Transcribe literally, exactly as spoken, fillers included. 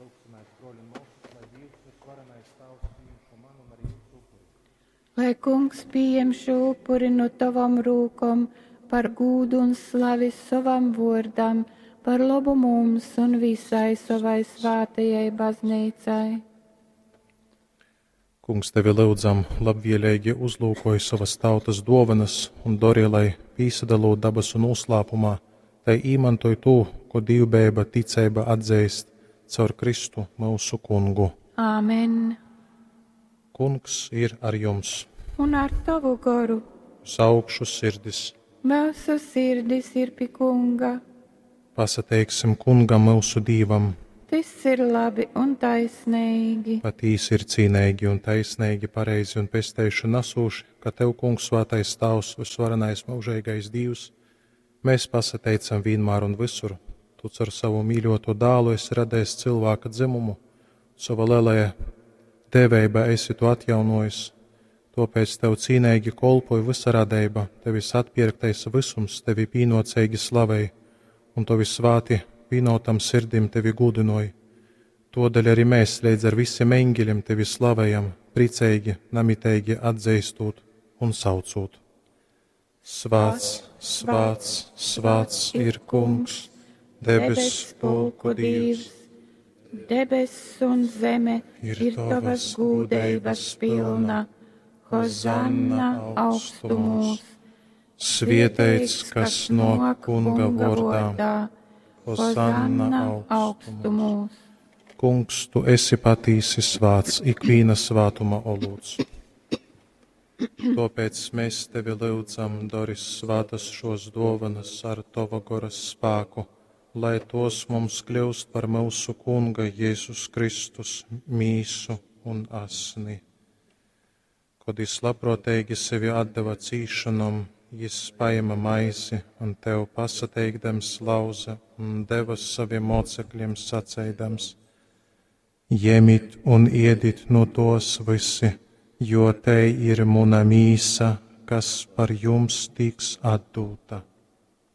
Lūgsimēs, bruoļi un muosys, lai Dīvs vysvarenais Tāvs pījam šo manu un arī jūsu upuri. Lai Kungs pieņem šo upuri no tavam rūkom par gūdu un slavi sovam vōrdam, par labu mums un visai savai svātajai baznīcai. Kungs, tevi lyudzam, labvieleigi uzlūkoj sovas tautas duovanas un dori, lai, pīsadalūt dabasu nūslāpumā, tai īmantoj tū, ko dīvbejeiba ticeiba atzeist caur Kristu myusu Kungu. Āmen. Kungs ir ar jums! Un ar tavu goru. Uz augšu sirdis! Mūsu sirdis ir pi Kunga. Pasateiksim Kungam myusu Dīvam! Tas ir labi un taisnīgi. Patīsi ir cīneigi un taisneigi, pareizi un pesteišanu nasūši, ka Tev, Kungs, Svētais Tāvs, vysvarenais mūžīgais Dievs, mēs pasateicam vienmēr un visur. Tu caur savu mīļoto dālu esi radējis cilvēka dzimumu, sava lielajā dēvībā esi tu atjaunojis. Tāpēc Tev cīneigi kolpoja visa radība, Tevis atpirktais visums Tevi pīnocīgi slavej, un Tavi svāti vīnotam sirdim Tevi gudinoja. Todēļ arī mēs līdz ar visiem eņģeļiem Tevi slavējam, priecīgi, namiteigi atzīstot un saucot. Svāts, svāts, svāts ir Kungs, debesu pulku Dievs. Debess un zeme ir, ir tavas gūdeibas pilna. Hozanna augstumos. Svietēts, kas no Kunga vārdā. Hozanna augstumos. Kungs, tu esi patīsi svāts, ikvīna svātuma olūts. Tāpēc mēs tevi lūdzam, dori svātas šos dovanas ar tava goras spēku, lai tos mums kļūst par mūsu Kunga Jēzus Kristus mīsu un asni. Kad jis labprātīgi sevi atdeva cīšanom, jis paēma maizi un tev pasateikdams lauza un deva saviem mocekļiem saceidams: Ņemit un iedit no tos visi, jo te ir muna mīsa, kas par jums tiks atdota.